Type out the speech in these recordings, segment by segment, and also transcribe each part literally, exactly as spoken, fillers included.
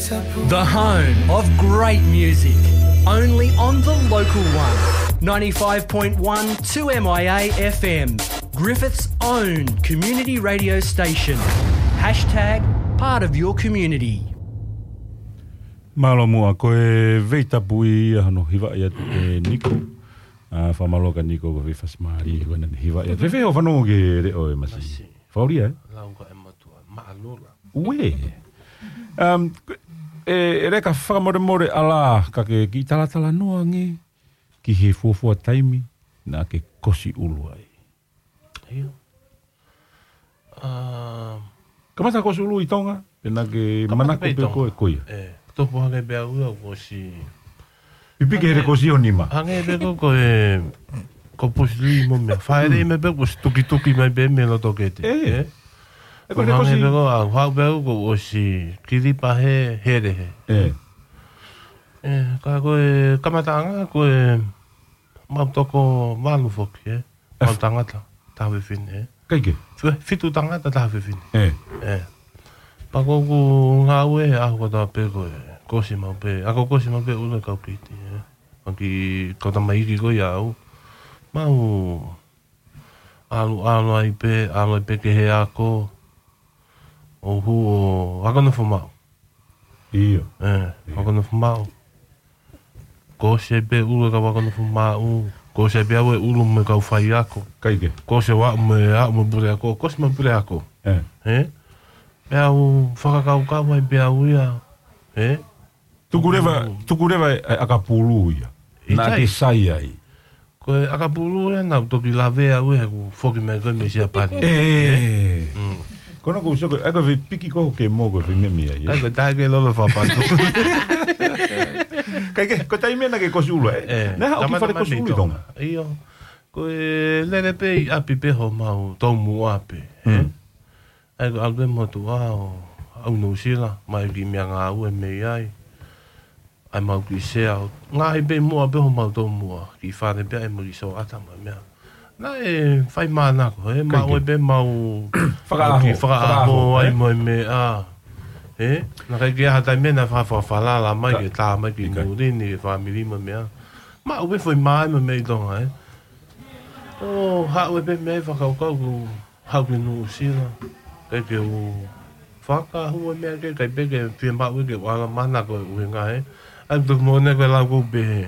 The home of great music, only on the local one. ninety-five point one two M I A F M, Griffith's own community radio station. Hashtag part of your community. Mālō muʻa, ko e veitapu ia hono hivaʻi atu ʻe Niko. ʻA, fakamālō kia Niko, ko e fasi mālie ko ena naʻe hivaʻi atu. Fēfē hoʻo fanongo ki he leʻo ʻa e masi? Masi. Fakaʻulia, ē? Lau ka e matua, maʻalula. Uē. Um, e, e leka fakamolemole ʻalā, ka ke kiʻi talatalanoa ange ki he fuofua taimi naʻa ke kosi ʻulu ai. ʻIo. Um, Kamata kosi ʻulu ʻi Tonga, pe naʻa ke manako pē ʻi Tonga. Ko e, ko ia. E, topu hake pē au ia, kosi. Pipiki he kosi ʻo nima. Hangē pē ko, ko e, ko Bruce Lee mo meʻa. Fāʻeleʻi mai pē, kosi tukituki mai pē mei loto kete. E. E. E ko e kosi. Hangē pē ko au, haʻu pē au, kosi kilipa he, hele he. E. E, ka ko e, kamataʻanga, ko e, mau toko valu foki, e. Mau tangata, taha fefine, e. Kai ke? Fi-, fitu tangata, taha fefine. E. E. Pea ko ʻeku ngāue, ʻaho kotoa pē ko e, kosi mau pē, ʻa ko kosi mau pē ʻulu e kau kiti, e. Maki kau tamaiki ko ia au. Mau ʻalu, ʻalu ai pē, ʻalu ai pē ki he ako. ʻO hū ʻo ako nofo maʻu. ʻIo. E, ako nofo maʻu. Kosi ai pē ʻulu e kau ako nofo maʻu. Kosi ai pē au e ʻulu mo e kau faiako. Kai ke? Kosi ʻo aʻu mo e, aʻu mo e puleako, kosi mo e puleako. E. E? Pea u fakakaukau ai pē au ia. E? Tuku leva, tuku leva e, e ʻakapulu ia. Naʻa ke sai ai. Ko e ʻakapulu ia naʻa ku toki lave au ia he ʻeku foki mai ko ē mei Siapani. E. Mm. Ko ena ʻoku ou sio ko e, ʻa ko e piki ko ke mo ko e meʻa ia. ʻA ko e taha ke lolo fakapatu. Kai ke, ko e taimi naʻa ke kosi ʻulu ai. E. Naʻe haʻu ki fale kosi ʻulu ʻi Tonga. ʻIo. Ko e lele pē ʻi ʻapi pē homau tomuʻa pē. E. Mm. ʻA ia ko e ʻalu pē motuʻa ʻo aʻu Nuʻusila, mai ki meʻa ngāue mei ai. ʻA ia mau kiʻi sea ʻo ngaahi pē muʻa pē homau tomuʻa, kiʻi fale pē ʻa ia mo e kiʻi soʻata mo e meʻa. Naʻe fai mānako, e, maʻu ai pē mau fakaʻaho, fakaʻaho ai mo e meʻa. E, naʻe ʻikai ke ʻi ai ha taimi naʻe fa-, fa-, falala mai ke tā mai ki muli ni, ke fāmili mo e meʻa. Maʻu pē foʻi mā mo e meʻa ʻi Tonga, e. ʻO haʻu ai pē meʻa ʻi fakakaukau ku haʻu ki Nuʻusila, ʻikai ke u fakahua meʻa ke, ʻikai pē ke fiemaʻu ke u ʻalu mana ko e ʻuhinga he. ʻA ia toki moʻoni ko e lau ko ē pehē,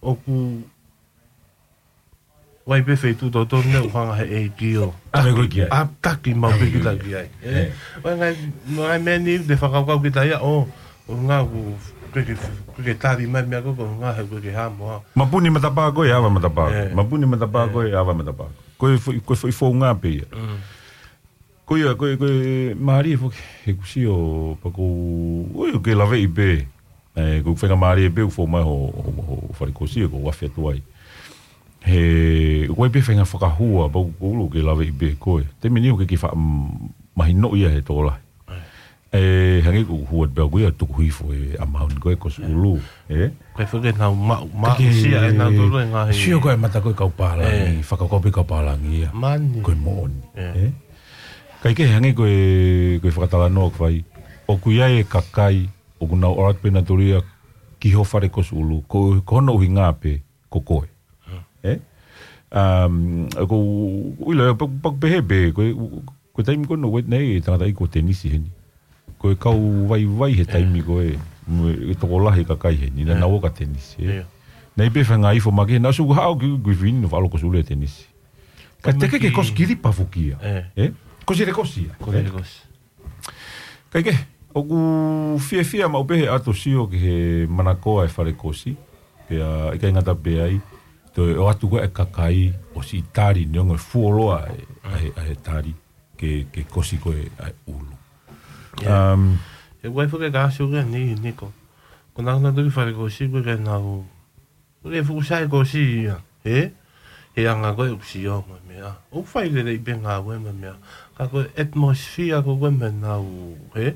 ʻoku ʻi ai pē feituʻu totonu ne u hanga he ʻEiki ʻo ʻave koe ki ai. ʻAtaki mau pē kita ki ai. E. ʻO ngaahi, ngaahi meʻa ni te fakakaukau kita ia, ʻo, ʻo ngā ku, ke, ke, ke tali mai meʻa ko, ko ngā he ko ke hamo ha. Mapuni matapā ko e ava matapā. E. Mapuni matapā ko e ava matapā. Ko e foʻi, ko e foʻi founga pē ia. Mm. Ko ia, ko e, ko e mālie foki, he ʻoku ou sio pē ko, ʻoi, ʻoku ke laveʻi pē. E, ʻoku ou faingamālie pē, ʻoku ou foʻi mai ho, ho, ho fale kosi, ʻoku ou afe atu ai. He, ʻoku ʻi ai pē faʻahinga fakahua, pea ʻoku ou ʻilo ʻoku ke laveʻi pē koe. Te meni ʻoku ke kiʻi faʻa, mm, mahinoʻi ia he tokolahi. E, hangē ko e hua pē ʻoku ia tuku hifo e amount ko e kosi ʻulu, e? Ko e foki nau maʻu, maʻu sia e nau tolo e ngaahi. Sio ko e mata ko e kau pālangi, fakakaukau pē kau pālangi ia. Mani. Ko e moʻoni, e? Kai ke hangē ko e, ko e fakatalanoa ʻoku fai. ʻOku ʻi ai e kakai, ʻoku nau ʻalu atu pē nau toli ia ki ho fale kosi ʻulu. Ko, ko hono ʻuhinga pē, ko koe. E? Um, ko, ʻilo, pa-, pa-, pehē pē, ko e, ko e taimi ko ē naʻe ʻi ai e tangataʻeiki ko Tenisi heni. Ko e kau vaivai he taimi ko ē, mo e tokolahi kakai heni, naʻa nau ō kia Tenisi, e? Naʻe ʻi ai pē faʻahinga ifo makehe, naʻa ku haʻu ki, ki Fini, naʻa faʻa ʻalu kosi ʻulu ʻia Tenisi. Ka te ke ke kosi kilipa foki ia. E? Kosi le kosi ia. Kosi le kosi. Kai ke, ʻoku fiefia maʻu pē he ʻalu ʻo sio ki he manakoa e fale kosi, pea ʻikai ngata pē ai, toe ʻoatu ko ē e kakai ʻo siʻi tali neongo e fuoloa e, ʻa e, ʻa e tali, ke, ke kosi ko ē ʻa e ʻulu. Um, e ʻoku ʻi ai foki e kakai ʻoku ʻi ai ni, Niko. Ko ʻenau nau toki fale kosi ko ē ke nau ʻoku fuʻu sai kosi ia, he? He anga ko e ʻoku sio mo e meʻa. ʻOku fai lelei pē ngāue mo e meʻa. Ka ko e atmosphere ko ē mo ʻenau, he?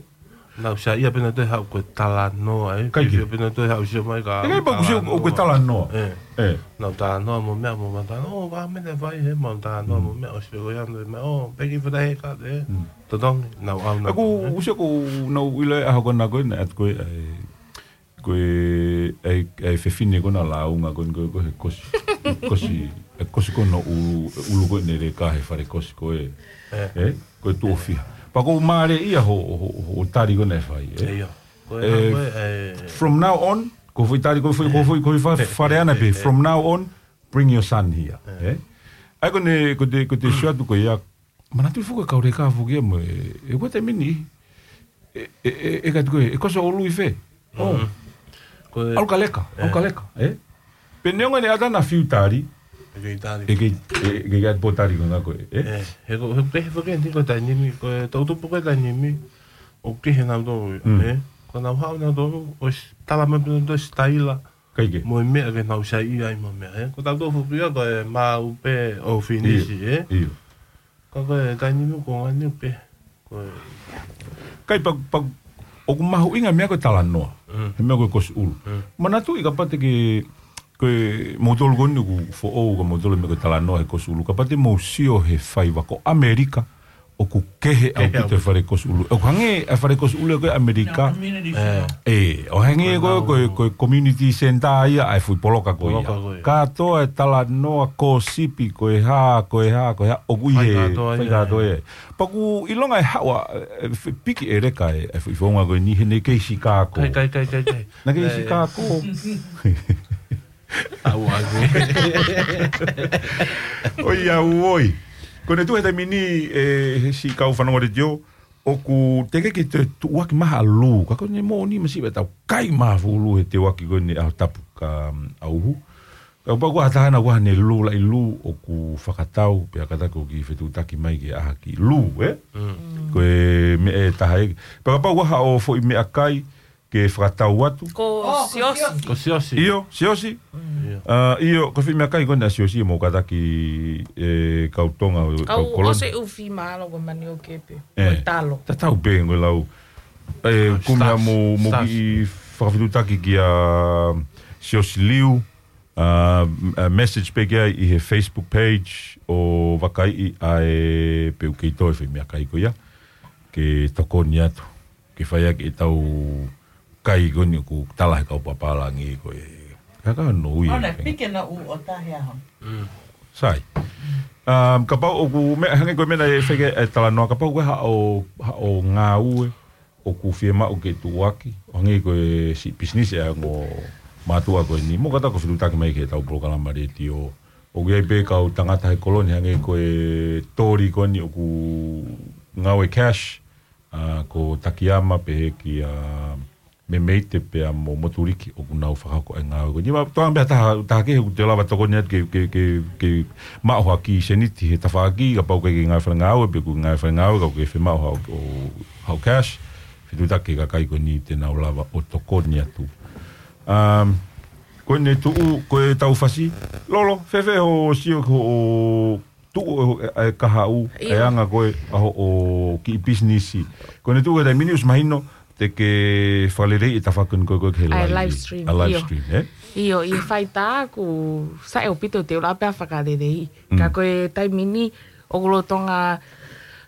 Nau saiʻia pē nautolu he haʻu ko e talanoa, ē. Kai ke. Fiefia pē nautolu he haʻu sio mai ka ʻIkai pau ko e sio talanoa. ʻOku ko e talanoa. ʻĒ. ʻĒ. Nau talanoa mo meʻa mo mata. ʻŌ, ka mene fai he mau talanoa mo meʻa ʻosi pē ko ia ʻanoi meʻa. ʻŌ, peki fata he ka te. Totongi, nau ʻau nau. ʻOku ou sio ko nau ʻilo e ʻaho ko ena ko ē, naʻe ʻatu ko ē, ʻa e, ko e, ʻa e, ʻa e fefine ko ena lāunga ko ē, ko e, ko e he kosi, kosi, ʻa e kosi ko ena ʻulu, ʻulu ko ē ne leka he fale kosi ko ē. ʻĒ. Ko e tuʻo fiha. Pea ʻoku ou mālieʻia ho, ho, ho, ho tali ko ena ʻe fai, ē? ʻIo. Ko e, ʻe, ko e, ʻe, from now on, ko e foʻi tali, ko e foʻi, ko e foʻi, ko e foʻi fa-, fale ʻana pē. From now on, bring your son here, ē? ʻA ia ko ʻene, ko ʻete, ko ʻete sio atu ko ia, manatuʻi foki e kau leka foki ia mo e, ʻe ko e taimi ni, ʻe, ʻe, ʻe, ʻe katu ko ē, ʻe koso ʻulu ʻi fē? ʻŌ. Ko e ʻalu ka leka, ʻalu ka leka, ē? Pea neongo ʻene ʻatā ʻena fiu tali, ʻe kei tali. ʻE kei, ʻe, ʻe kei ʻatu pō tali ko ena ko ē, ē? ʻĒ, he ko, he ko e, he ko e, he ko e taimi ni, ko e tau tupu ko e taimi ni, ʻoku kehe nautolu, ē? Ko ʻenau haʻu nautolu, ʻosi tala mai pē nautolu e sitaila, kai ke. Mo e meʻa ke nau saiʻia ai mo e meʻa, ē? Ko tautolu foki ia, ko e maʻu pē ʻo finisi, ʻio, ē? ʻIo. Ka ko e taimi ni ko ngani pē. Ko e. Kai pa, pa, ʻoku mahuʻinga e meʻa ko e talanoa. He meʻa ko e kosi ʻulu. Manatuʻi kapau te ke, ko e moutolu ko eni ʻoku foʻou ka moutolu meʻa ko e talanoa he kosi ʻulu. Kapau te mou sio he faiva ko ʻAmelika, ʻoku kehe ʻaupito e fale kosi ʻulu. ʻOku hangē e fale kosi ʻulu ko ē ʻAmelika. ʻĒ, ʻo hangē ko e, ko e, ko e community center ia ʻa e foʻi poloka ko ia. Kātoa e talanoa, kōsipi, ko e hā, ko e hā, ko e hā, ʻoku ʻi he, fai kātoa ia. Pea ʻoku ʻilonga e haʻu ʻa, ʻe, piki ʻe leka e, e foʻi founga ko eni he naʻe kei Sikako. Kai, kai, kai, kai, kai. Naʻe kei Sikako. ʻOiauē. Ko ʻene tuʻu he taimi ni, ʻe, he siʻi kau fanongo letiō, ʻoku teʻeki ke toe tuʻuaki mai ha lū. Ka ko ʻene moʻoni masiva ʻetau kai mai ha fuʻu lū he teuaki ko eni ʻaho tapu ka, um, ʻauhu. Ka pau ko ha taha naʻa ne lū laʻi lū ʻoku fakatau, pea kātaki ʻoku kei fetuʻutaki mai ke ʻai ha kiʻi lū, ē? Ko e meʻa ʻe taha ē. Pea kapau ʻoku ʻi ai haʻo foʻi meʻakai ke fakatau atu. Ko Siosi. Ko Siosi. ʻIo, Siosi. ʻIo. ʻIo, ko e foʻi meʻakai ko ena ʻa Siosi mo kātaki e kau Tonga, kau Koloni. ʻOsi ʻufi mālō ko Manioke pē. Ko e talo. Tatau pē ko e lau. ʻE, kumea mo, mo kiʻi fakafetuʻutaki kia Siosi Liu. ʻA, message pē ki ai ʻi he Facebook page ʻo vakaiʻi ʻa e pē ʻoku kei toe foʻi meʻakai ko ia. Ke tokoni atu. Ke fai ʻaki ʻetau kai ko eni ʻoku tala he kau pāpālangi ko e. Ka ka no ui. ʻOna pike na u o tahe aho. Sai. Um, kapau ʻoku meʻa, hangē ko e meʻa naʻe feke e talanoa, kapau ko e haʻo, haʻo ngāue, ʻoku fiemaʻu ke tuʻuaki, ʻo hangē ko e siʻi pisinisi ʻa e ongo mātuʻa ko eni, mo kātaki ʻo fetuʻutaki mai ki heʻetau polokalama letiō. ʻOku ʻi ai pē kau tangata he Koloni hangē ko e toli ko eni ʻoku ngāue cash, ʻa, ko Takiama pehē kia Memeite pea mo Motuliki ʻoku nau fakahoko e ngāue ko eni. Ma, toa pē ha taha, taha kehe ʻoku te lava tokoni atu ke, ke, ke, ke maʻu ha kiʻi sēniti he tafaʻaki, kapau ʻoku ʻikai ke ngāue fale ngāue, pe ʻoku ngāue fale ngāue, ka ʻoku ke fiemaʻu haʻo, ʻo, haʻo cash, fetuʻutaki ki he kakai ko eni te nau lava ʻo tokoni atu. Um, ko ʻene tuʻu, ko e tau fasi, Lolo, fēfē hoʻo sio ko hoʻo tuʻu e, e kahaʻu, ʻio, e anga ko ē ʻa hoʻo kiʻi pisinisi. Ko ʻene tuʻu he taimi ni ʻosi mahino, te ke fakaleleiʻi e tafaʻaki ko ē ko ē ki he live stream, ʻa e live stream, ʻio, ē? ʻIo, ʻi he faitā ʻoku sai ʻaupito te u lava pē ʻo fakaleleiʻi. Ka ko e taimi ni, ʻoku lolotonga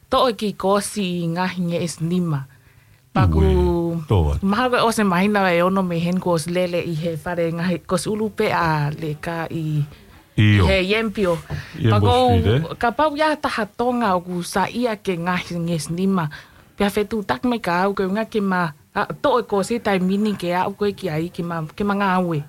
toʻo e kiʻi kōsi ʻi he ngaahi ngeʻesi nima. Pea ʻoku, ʻio, mahalo ko e ʻosi e māhina ʻe ono mei heni kuo ʻosi lele ʻi he fale ngaahi kōsi ʻulu pē ʻa leka ʻi, ʻio, he Yambio. Yambio Street, ē? Pea ʻoku, kapau ʻoku ʻi ai ha taha Tonga ʻoku saiʻia ki he ngaahi ngeʻesi nima, pea fetuʻutaki mai kia au, ko e ʻuhinga ke ma, ʻa, toʻo e kōsi taimi ni ke aʻu ko ē ki ai, ke ma, ke ma ngāue.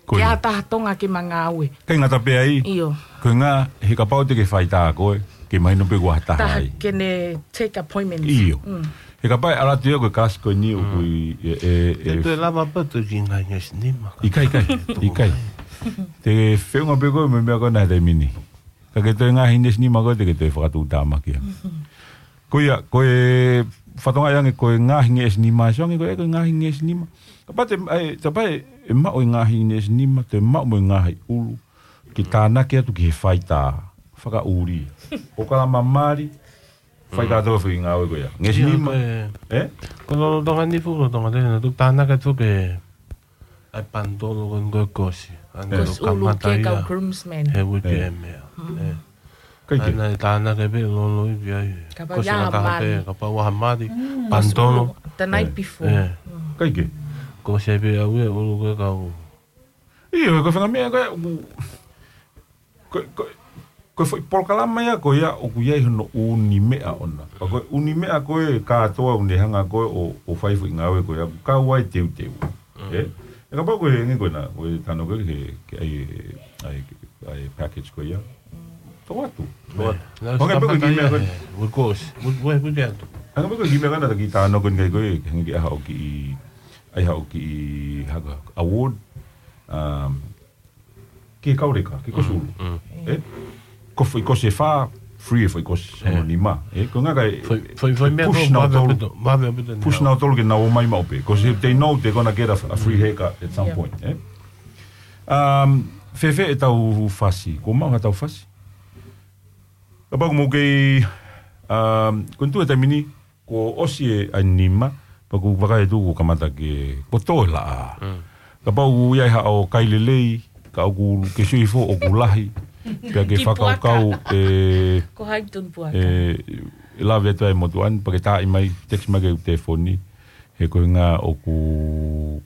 Ko ia. Ke ʻi ai ha taha Tonga ke ma ngāue. ʻIkai ngata pē ai. ʻIo. Ko e ʻuhinga, he kapau te ke faitā koe, ke mahino pē kuo ʻi ai ha taha ai. Taha ke ne take appointments. ʻIo. Mm. He kapau ʻe ʻalu atu ia ko e kalasi ko eni ʻoku ʻi, ʻe, ʻe, ʻe. Te u lava pē ʻo toe kiʻi ngaahi ngeʻesi nima. ʻIkai, ʻikai, ʻikai. Te ke feʻunga pē koe mo e meʻa ko ena he taimi ni. Ka ke toe ngaahi ngeʻesi nima koe te ke toe fakatuʻutāmaki ange. Ko ia, ko e fatongia ange ko e ngaahi ngeʻesi nima, ʻe sio ange ko e, ko e ngaahi ngeʻesi nima. Kapau te, ʻai, kapau ʻe maʻu e ngaahi ngeʻesi nima, te maʻu mo e ngaahi ʻulu, ke tānaki atu ki he faitā, fakaʻuli. ʻOkalama mali, Fai kātoa foʻi ngāue ko ia. Ngeʻesi nima. Ko e, ē? Ko lolotonga ni fuʻu lolotonga tena, tuku tānaki atu ke ʻai panitolo ko e kosi. Ane Kosi ʻulu kamata ke kau ia groomsmen. He uike ʻe meʻa. Ē. Kai ke. Ana e tānaki pē lolo i pia i. Kapau ia ha mali. Kapau ha mali. Panitolo. The night before. Ē. Kai ke. Kosi pē au e ʻulu ke kau. ʻIo, ko e fanga meʻa ko e, ko, ko, ko e foʻi polokalama ia ko ia ʻoku ʻi ai hono ʻū meʻa ʻona. Pea ko e ʻū meʻa ko e kātoa ʻoku ne hanga ko e ʻo, ʻo fai foʻi ngāue ko ia, kau ai teuteu. Ē? ʻE kapau ko e ngi ko ena, ko e tano ko e ke, ke ʻai, ʻai, ʻai package ko ia. Tau atu. Tau atu. Hanga pē ko e kiʻi meʻa ko e. Anga pē ko e kiʻi meʻa ko ena taki tano ko e ngai ko e, ke hanga ki ʻai haʻo kiʻi, ʻai haʻo kiʻi haka award. Um, ke kau leka, ke kosi ʻulu. Ē? Ko foʻi kosi ʻe fā, free e foʻi kosi hono nima. Ē? Ko e ʻuhinga ka e foʻi, foʻi, foʻi meʻa push ko e nautolu. Push nautolu ke nau ō mai maʻu pē. Because if they know they're gonna get a, a free haircut at some point. Ē? Um, fēfē ʻetau fasi, kuo maʻu haʻatau fasi. Kapau ʻoku mou kei, um, ko e tuʻu he taimi ni, kuo ʻosi e ʻai nima, pea ʻoku vakai atu kuo kamata ke, kuo tō e laʻā. Kapau ʻoku ʻi ai haʻo kai lelei, ka ʻoku ke sio hifo ʻoku lahi, pea ke fakakaukau ʻe, Ko hai tun puaka. ʻe, ʻe lave atu ai motuʻa ni, pea ke taaʻi mai, text mai ki heʻeku telefoni, he ko e ʻuhinga ʻoku,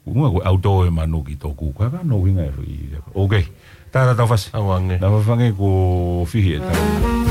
ʻuhinga ko e ʻauto e manu ki toku, ka ka no ʻuhinga e foʻi. Okay. Tā ʻetau fasi. Au ange. Na fafange kuo fihi e tau.